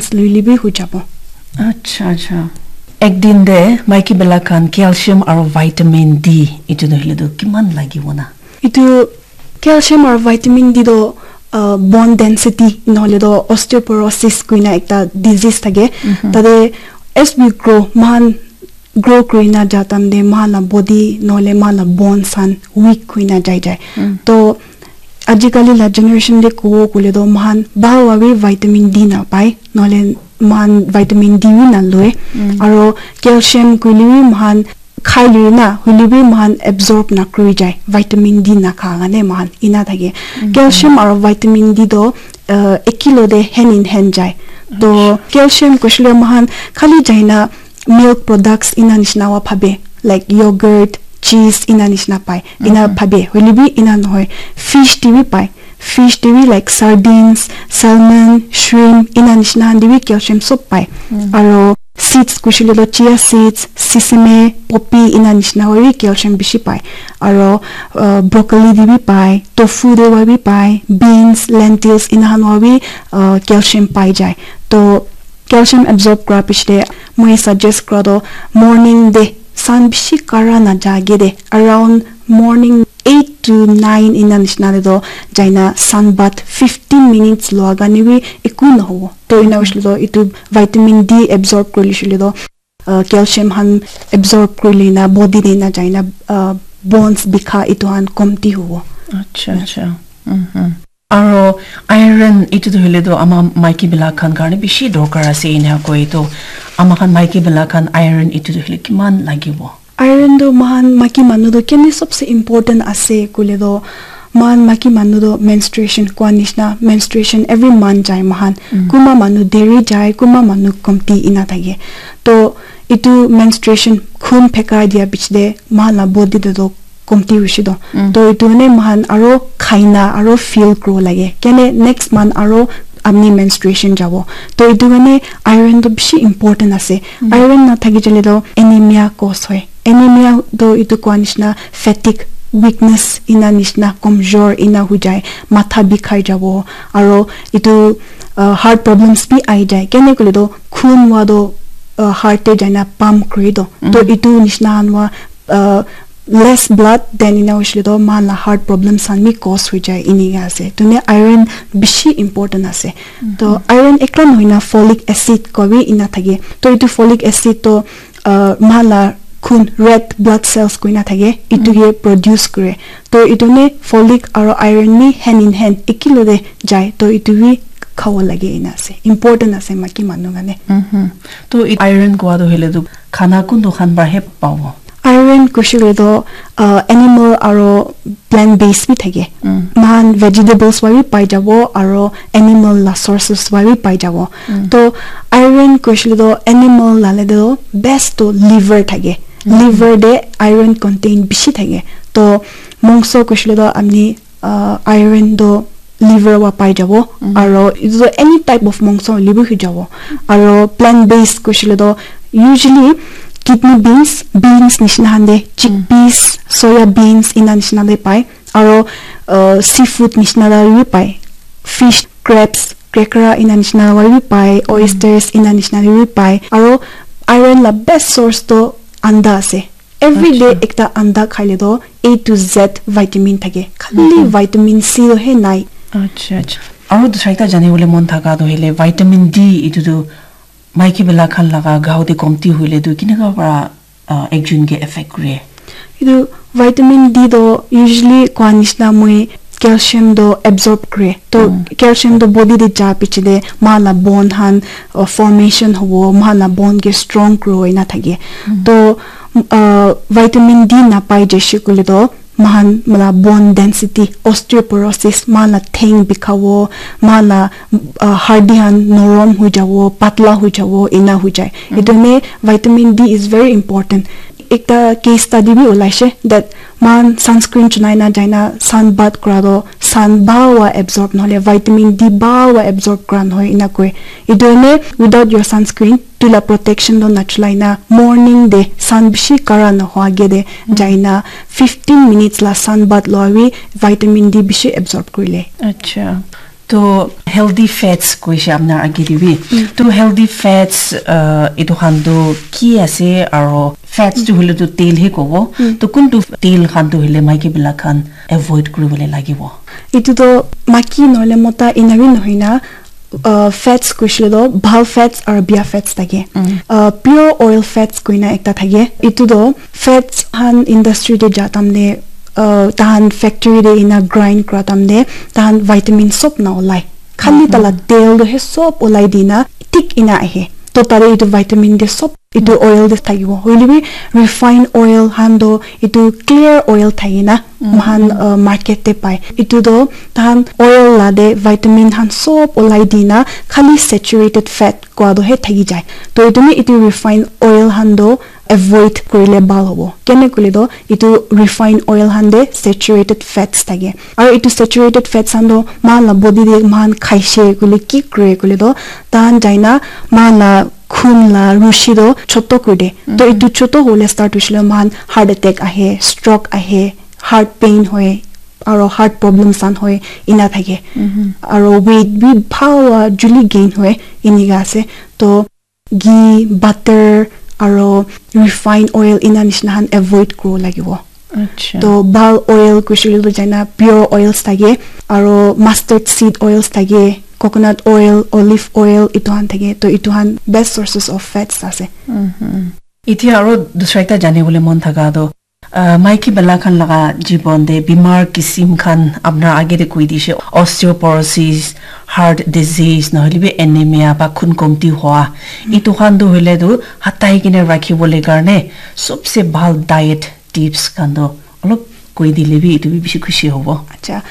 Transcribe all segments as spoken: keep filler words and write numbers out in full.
loile bi hui jabo. Acha, acha. Ek din de maiki bela khan calcium aro vitamin D itu nohile tu kiman lagibo na? Itu calcium aro vitamin D do uh, bone density nohile do osteoporosis kuina ekta disease thake. Tate as we grow, mohan grow kurina ja time te mohan la body nohole mohan la bones khan weak kuina jai jai. To ajikali la generation de kowo kule do mohan bhal wa bi vitamin D na pai, nohole mohan vitamin D bi na lue. Aro calcium kuile bi mohan khai lui na, hoile bi mohan absorb na kuri jai, vitamin D na kha kane mohan ina thake. Calcium aro vitamin D do uh, ekilo de hand in hand jai. To calcium kushile mohan khali jaina milk products ina nishina wa phabe, like yogurt, cheese ina nishina pai. Ina phabe, hoile bi ina nohoi. Fish te bi pai. Fish te bi like sardines, salmon, shrimp ina nishina han te bi calcium sob pai. Aro seeds kushile to chia seeds, sesame, poppy ina nishina wa bi calcium bishi pai. Aro uh, broccoli te bi pai, tofu te wa bi pai, beans, lentils ina han wa bi uh, calcium pai jai. To calcium absorb kura piche de moi suggest kura to morning de sun bishi kara na jage de around morning eight to nine ina nishina de to jaina sun bath fifteen minutes lua gane bi eku na hobo. To ina hoishile to itu vitamin D absorb kuri lishile to uh, calcium han absorb kuri lina body de na jaina uh, bones bikha itu han komti hobo. Acha, acha. Aro iron itu tu hoile tu ama maiki bila khan karne bishi dorkar ase ina koi to ama khan maiki bila khan iron itu tu hoile kiman lagibo? Iron tu mohan maiki manu tu kene sobse important ase kule to mohan maiki manu tu menstruation kwa nishna menstruation every month jai mohan. Kuma manu deri jai, kuma manu komti ina thake. To itu menstruation khun pheka dia bichde mohan la body de to komti hoishe to. To itu ne mohan aro khaina aro feel kuro lage kene next month aro apni menstruation jabo. To itu karne iron to bishi important ase. Iron na thaki jale to anemia cause hoy. Anemia to itu kwa nishna fatigue, weakness ina nishna komjor ina hui jai, matha bikhai jabo aro itu uh, heart problems bi ai jai. Kene kule to khun wa to uh, heart te jaina pump kuri to. To itu nishna han wa uh, less blood then ina hoishile to mohan la heart problems khan bi cause hoi jai inika ase. Tune iron bishi important ase. To iron ekla nohoi na folic acid koi bi ina thake. To itu folic acid to uh, mohan la khun red blood cells koina thake itu ke produce kore. To itu ne folic aro iron ni hand in hand ekilo de jai. To itu bi khabo lage ina ase. Important ase maiki manu kane. To iron kowa to hoile to khana kuntu khan para he pabo? Iron kushile to uh, animal aro plant based bi thake. Mohan vegetables wa bi pai jabo aro animal la sources wa bi pai jabo. To iron kushile to animal la le to best to liver thake. Liver de iron contain bishi thake. To mongso kushile to amni uh, iron to liver wa pai jabo. Aro itu to any type of mongso hoile bi hui jabo. Aro plant based kushile to usually kidney beans, beans nishina han de, chickpeas, soya beans ina nishina de pai. Aro uh, seafood nishina de bi pai. Fish, crabs, krekra ina nishina de bi pai. Oysters ina nishina de bi pai. Aro iron la best source to anda ase. Every day ekta anda khaile to A to Z vitamin thake. Khali vitamin C to he nai. Acha, acha. Aro dusra ekta jani bole mon thaka to hele vitamin D itu tu maiki bela khan laga gao te komti hoile tu kineka para uh, ekjun ke affect kure? Itu vitamin D to usually kwa nishna moi calcium to absorb kore. To calcium to body de ja piche de mohan la bone han uh, formation hobo, mohan la bone ke strong kuro ina thake. To uh, vitamin D na pai jeshe kule to mohan la bone density, osteoporosis, mohan la theng bikhabo, mohan la uh, hardi han norom hui jabo, patla hui jabo, ina hui jai. Itu ne vitamin D is very important. Ekta case study bi ulaishe that mohan sunscreen chunai na jaina sun bath kura to sun bhal wa absorb nohole vitamin D bhal wa absorb kura nohoi ina koi. Itu ne without your sunscreen tu la protection to nachulai na morning de sun bishi kara nohoi age de jaina fifteen minutes la sun bath loi bi vitamin D bishi absorb kurile. Acha. To healthy fats koishe apnar age te bi. To healthy fats, uh, etu khan tu ki ase aro fats tu hole tu tel he kobo. To kuntu tel khan tu hole maiki bila khan avoid kuribole lagibo. Etu to maiki nohole mota ena bi nohoi na, uh, fats koishe to bhal fats aro bia fats thake. Uh, pure oil fats koina ekta thake. Etu to fats han industry te ja tamne, uh, tahan factory te ena grind kura tamne tahan vitamin sob na olai. Khali tala tel to he sob olai dina thik ena ahe. To tare etu vitamin te sob etu oil te thakibo. Hoile bi refined oil han to etu clear oil thaki na mohan, uh, market te pai. Etu to tahan oil la te vitamin han sob olai dina khali saturated fat koa to he thaki jai. To etu ni etu refined oil han to avoid kurile bhal hobo. Kene koile to etu refined oil han te saturated fats thake. Aro etu saturated fats han to mohan la body te mohan khaishe koile ki kure koile to tahan jaina mohan la khun la rushi to choto kuri de. To etu choto hole start hoishe le mohan heart attack ahe, stroke ahe, heart pain hoi, aro heart problems han hoi, ena thake. Aro weight bi bhal wa juli gain hoi, enika ase. To ghee, butter, aro refined oil ena nishina han avoid kuro lagibo. Acha. To bhal oil koishe le to jaina pure oils thake, aro mustard seed oils thake, coconut oil, olive oil, etu han thake. To etu han best sources of fats ase. Etia aro dusra ekta jane bole mon thaka to, uh, maiki bila khan laga jibon te bimar kisim khan apnar age te koi dishe, osteoporosis, heart disease, nohole bi anemia ba khun komti hua. Etu khan tu hoile tu hatai kene rakhi bole karne sobse bhal diet tips khan tu olop koi dile bi etu bi bishi khushi hobo. Acha,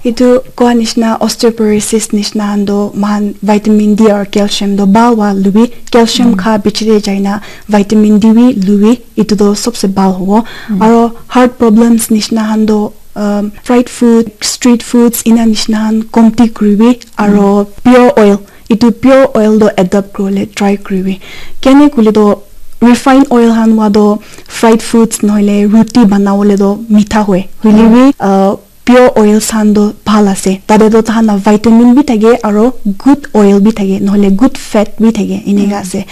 etu koa nishina osteoporosis nishina han to mohan vitamin D aro calcium to bhal wa lubi, calcium kha bichi te jaina vitamin D bi lubi, etu to sobse bhal hobo. Aro heart problems nishina han to, um, fried food, street foods ena nishina han komti kuribi, aro pure oil, etu pure oil to adopt kuribole try kuribi. Kene koile to refined oil han wa to fried foods nohole roti banabole to mitha hoi. Hoile bi, uh, pure oils han to bhal ase. Tate to tahan la vitamin bi thake aro good oil bi thake, nohole good fat bi thake, enika ase.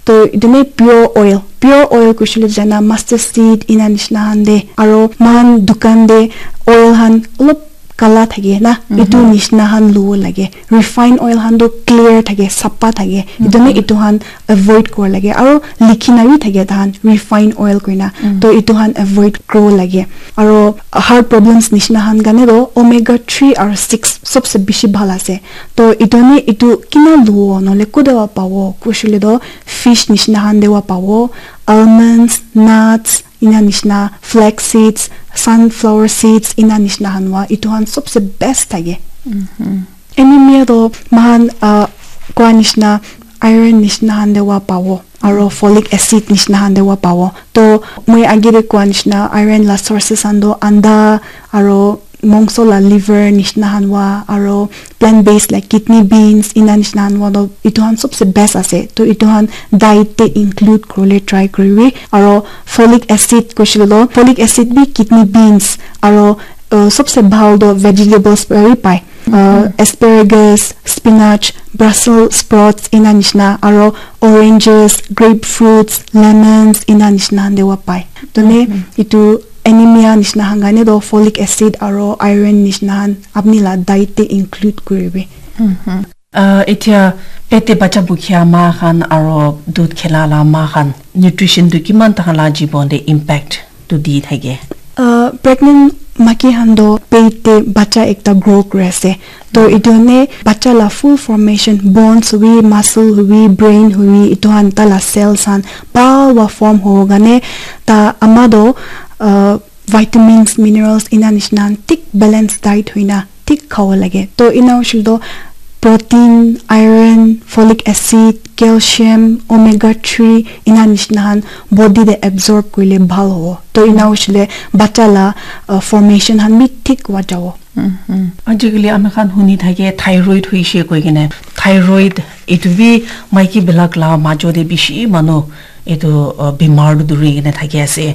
To etu ni pure oil, pure oil koishe le jaina mustard seed ena nishina han te, aro mohan dukan te oil han olop kala thake na, etu nishina han lubo lage. Refined oil han to clear thake, sapha thake. Etu ni etu han avoid kura lage. Aro likhi na bi thake tahan refined oil koina. To etu han avoid kuro lage. Aro heart problems nishina han karne to omega three aro six sobse bishi bhal ase. To etu ni etu kina lubo nohole kode wa pabo koishe le to fish nishina han te wa pabo, almonds, nuts, ena nishina flax seeds, sunflower seeds, ena nishina han wa etu han sobse best thake. Anemia to mohan, uh, koa nishina iron nishina han te wa pabo, aro folic acid nishina han te wa pabo. To moi age te koa nishina iron la sources han to anda aro mongso la liver nishina han wa, aro plant based like kidney beans ena nishina han wa to etu han sobse best ase. To etu han diet te include kuribole try kuribi. Aro folic acid koishe le to folic acid bi kidney beans aro, uh, sobse bhal to vegetables para bi pai. Uh, asparagus, spinach, Brussels sprouts ena nishina, aro oranges, grapefruits, lemons ena nishina han te wa pai. To ne etu anemia nishina han karne to folic acid aro iron nishina han apni la diet te include kuribi. Uh, etia pet te bacha bukhi ama khan aro dudh khela la ama khan nutrition tu kiman tahan la jibon te impact tu di thake? Uh, pregnant maiki khan to pet te bacha ekta grow kuri ase. To etu ne bacha la full formation, bones hobi, muscle hobi, brain hobi, etu khan ta la cells khan bhal wa form hobo karne ta ama to, uh, vitamins, minerals ena nishina thik balance diet hoina thik khabo lage. To ena hoishe le to protein, iron, folic acid, calcium, omega three ena nishina khan body te absorb kurile bhal hobo. To ena hoishe le bacha la, uh, formation khan bi thik wa jabo. Ajikali ami khan huni thake thyroid hoishe koi kene. Thyroid etu bi maiki bilak la majo te bishi manu etu, uh, bimar tu duri kene thaki ase.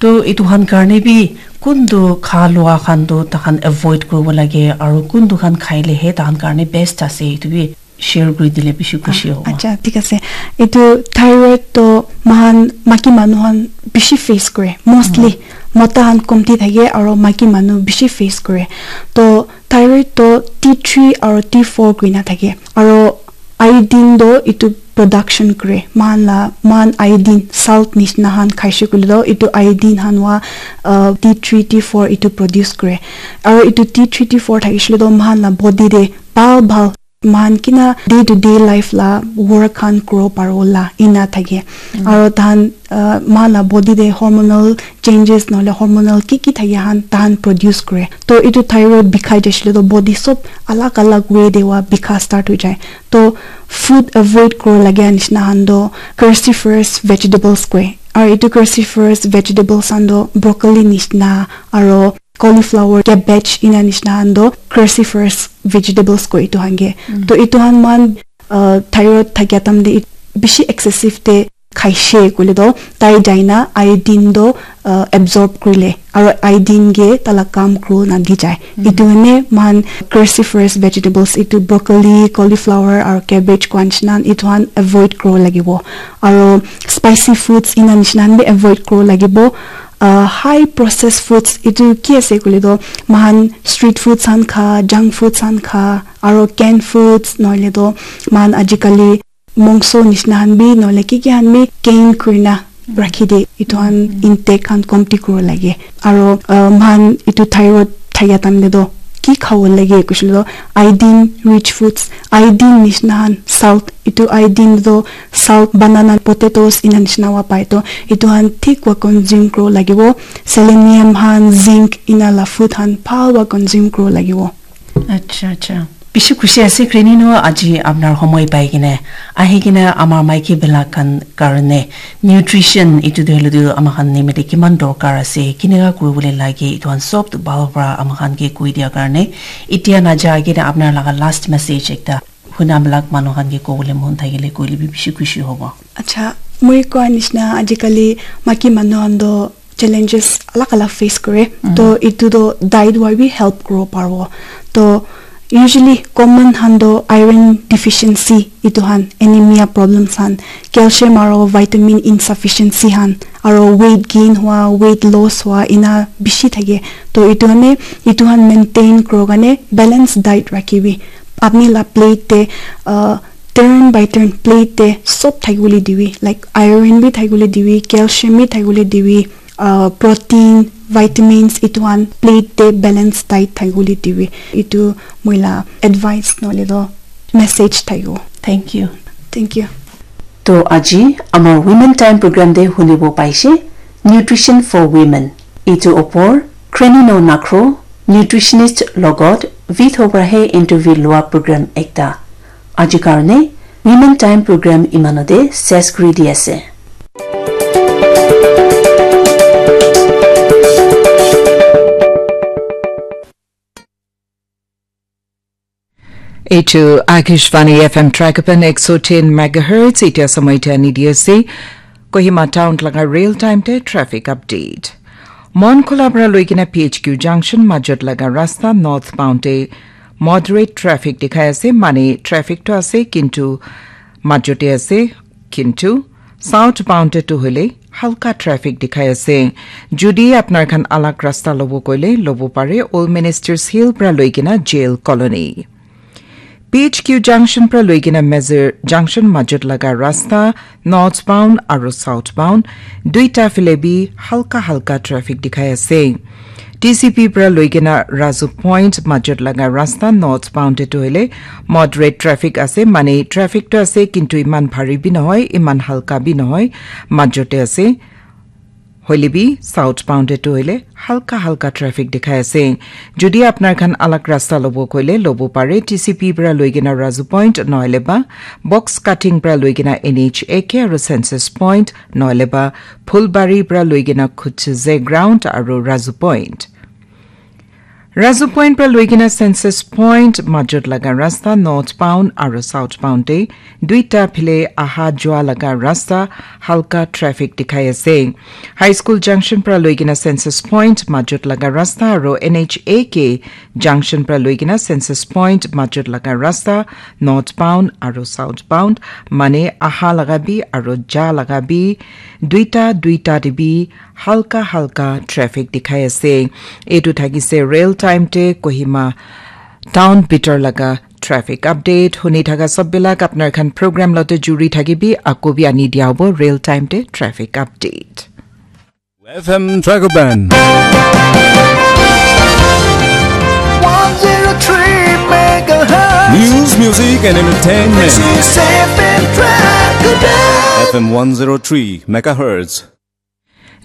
To etu khan karne bi kuntu kha lua khan tu takhan avoid kuribo lage aru kuntu khan khaile he takhan karne best ase, etu bi share kuri dile bishi khushi hobo. Acha, thik ase. Etu thyroid to mahan maki manu khan bishi face kore. Mostly mota khan komti thake aru maki manu bishi face kore. To thyroid to T three aru T four kuina thake. Aru iodine do etu production kore. Mahan la, mahan iodine salt nishna khan khaishe koile do etu iodine khan wa, uh, T three, T four etu produce kore. Aru etu T three, T four thakishe le do mahan la body de bhal bhal mahan kina day to day life la work khan kuro paro la ina thake. Aru tahan, uh, mahan la body de hormonal changes nohole hormonal ki ki thake han tahan produce kore. To etu thyroid bikhai jaishe le do body sob alag alag way de wa bikha start hoi jai. To food avoid kuro lage nishna han do cruciferous vegetables koi. Aru etu cruciferous vegetables han do broccoli nishna aru cauliflower, cabbage ina nishna han do cruciferous vegetables koi etu han ke. To etu han man, uh, thyroid thakia tam de it-, bishi excessive te khaishe koile do tai jaina iodine do, uh, absorb kurile aru iodine ke tala kam kuro na di jai. Etu ne man cruciferous vegetables etu broccoli, cauliflower aru cabbage kwan nishna etu han avoid kuro lagibo. Aru spicy foods ina nishna han bi avoid kuro lagibo. Uh, high processed foods etu ki ase koile do mahan street foods han kha, junk foods han kha, aru canned foods nohole do mahan ajikali mongso nishna han bi nohole ki ki han bi can kurina rakhi de etu han intake han komti kuro lage. Aru, uh, mahan etu thyroid thakia time de do ki khabo lage kushile do iodine rich foods, iodine nishna han salt, etu iodine do salt, banana, potatoes ina nishna wa pai to etu han thik wa consume kuro lagibo. Selenium han, zinc ina la food han bhal wa consume kuro lagibo. Acha, acha. Bishi khushi ase, Krenino, aji apnar homoi pai kene, ahi kene amar maiki belak khan karne nutrition itu de helu ama khan nimite kiman dorkar ase, kineka kuribole lage, itu khan sob tu bhal para ama khan ke koi dia karne. Itia naja kene apnar laga last message ekta huna belak manu khan ke kobole mon thakile koile bi bishi khushi hobo. Acha, moi koa nishna ajikali maiki manu khan do challenges alag alag face kore. To itu do diet wa bi help kuro paribo. To usually common han do iron deficiency itu han anemia problems han, calcium aro vitamin insufficiency han, aro weight gain hua, weight loss hua ina bishi thake. To itu hane itu han maintain kuro kane balance diet rakhibi. Apni la plate te, uh, turn by turn plate te sob thakibole dibi, like iron bi thakibole dibi, calcium bi thakibole dibi, uh, protein, vitamins itu khan plate te balance diet thakibole dibi. Itu moi la advice nohole to message thakibo. Thank you. Thank you. To aji amar Women Time program te hunibo paise, Nutrition for Women. Itu opor Krenino Nakro, nutritionist logot Vitho para he interview lua program ekta. Aji karne Women Time program imanote ses kuri di ase. Eitu Akashvani F M Trakapan ek so tin megahertz, itia samay tia ni D S C, Kohima Town laga real time te traffic update. Mon Khula pra loikena P H Q junction majot laga rasta northbound te moderate traffic dikhai ase, mane traffic to ase, kintu majote ase, kintu southbound te tu hoile halka traffic dikhai ase. Jodi apnar khan alag rasta lobo koile lobo pare, Old Ministers Hill pra loikena Jail Colony. P H Q junction pra loikena Mezir junction majot laga rasta northbound aru southbound duita phale bi halka halka traffic dikhai ase. T C P pra loikena Razu Point majot laga rasta northbound te tu hoile moderate traffic ase, mane traffic tu ase, kintu iman bhari bi nohoi, iman halka bi nohoi, majote ase. Hoile bi southbound te tu hoile halka halka traffic dikhai ase. Jodi apnar khan alag rasta lobo koile lobo pare, T C P pra loikena Razu Point nohole ba box cutting pra loikena N H A K aru census point nohole ba Phulbari pra loikena Khutze ground aru Razu Point. Razu Point pra loikena Census Point majot laga rasta northbound aro southbound te duita phile aha jua laga rasta halka traffic dikhai ase. High School Junction pra loikena Census Point majot laga rasta aro N H A K Junction pra loikena Census Point majot laga rasta northbound aro southbound mane aha laga bi aro ja laga bi duita duita te bi halka halka traffic dikhai ase. Etu thakise real time te Kohima town bitor laga traffic update. Huni thaka sob bilak apnar khan program lote juri thakibi, ako bi ani dia hobo real time te traffic update. F M Dragoban. One zero three megahertz. News, music, and entertainment. This is F M Dragoban. F M one zero three megahertz.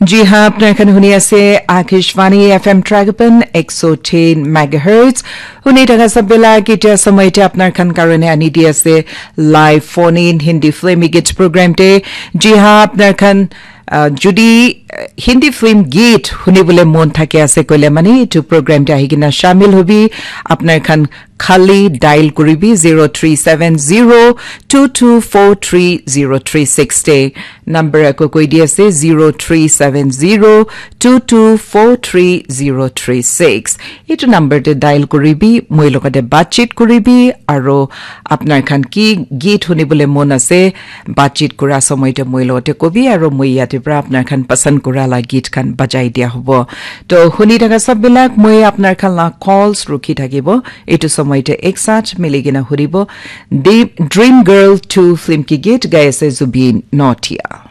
Ji ha, apnar khan huni ase Akashvani F M Dragoban ek so tin megahertz. Huni thaka sob bilak etia somoy te apnar khan karone ani di ase live phone in Hindi film git program te. Ji ha, apnar khan Uh, judi uh, Hindi film git hunibole mon thake ase koile mane etu program te ahi kena shamil hobi. Apnar khan khali dial kuribi zero three seven zero two two four three zero three six te. Number ako koi di ase zero three seven zero two two four three zero three six. Etu number te dial kuribi, moi logote batchit kuribi, aro apnar khan ki git hunibole mon ase, batchit kura somoy te moi logote kobi, aro moi yate pra apnar khan pasand kura la git khan bajai dia hobo. To huni thaka sob bilak moi apnar khan la calls rukhi thakibo. Etu somoy te ek saath mili kena huribo. The Dream Girl two film ki git gai ase Zubeen Nautiyal.